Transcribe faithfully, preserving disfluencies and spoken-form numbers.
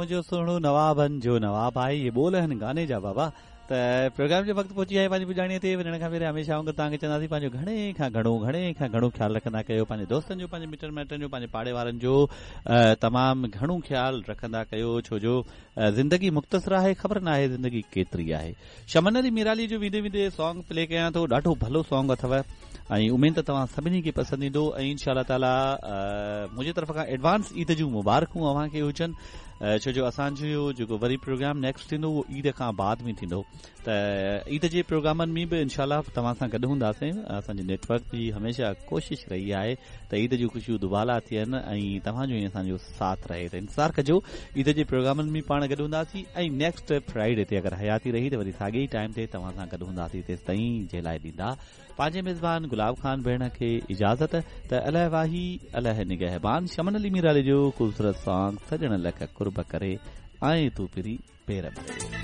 منهنجو سهڻو نوابن جو نواب آهي. اهي ٻول آهن گاني جا بابا. ته پروگرام جو وقت پهچي آهي پنهنجي پڄاڻيء تي. وڃڻ کان پهريان هميشه وانگر توهان کي چونداسين پنهنجو گهڻي کان گهڻو گهڻي کان گهڻو خيال رکندا ڪيو، پنهنجي دوستن جو، پنهنجي مٽن مائٽن جو، پنهنجي پاڙي وارن جو تمام گهڻو خيال رکندا ڪيو، ڇو جو زندگي مختصر آهي، خبر نه آهي زندگي ڪيتري آهي. شمن علي ميرالي جو ويندي ويندي سانگ پلي ڪيان ٿو، ڏاڍو ڀلو سانگ اٿو ۽ اميد ته توهان سڀني کي پسند ايندو. ۽ انشاء الله تعاليٰ منهنجي طرف کان ايڊوانس عيد جون مبارڪون اوهان کي هجن، ڇو جو اسان جو جيڪو وري پروگرام نيڪسٽ ٿيندو اهو عيد کان بعد ۾ ٿيندو. ته عيد جي پروگرامن ۾ به انشاء الله توهان سان گڏ هونداسين. اسان جي نيٽ ورڪ جي هميشه ڪوشش رهي آهي ته عيد جون خوشيون دوبالا ٿين ۽ توهان جو ۽ اسان جو ساٿ رهي. ته انتظار ڪجو، عيد جي پروگرامن ۾ پاڻ گڏ هونداسين ۽ نيڪسٽ فرائيڊي تي اگر حياتي رهي ته وري ساڳي ئي ٽائيم تي توهان سان گڏ هونداسين. تيستائين جي لاء ڏيندا پنهنجي ميزبان گلاب خان ڀيڻ کي اجازت. ته الهه واهي الهه نگهبان. شمن علي ميرالي جو خوبصورت سانگ سڄڻ لک قرب ڪري آئين تون پرين پير ڀري.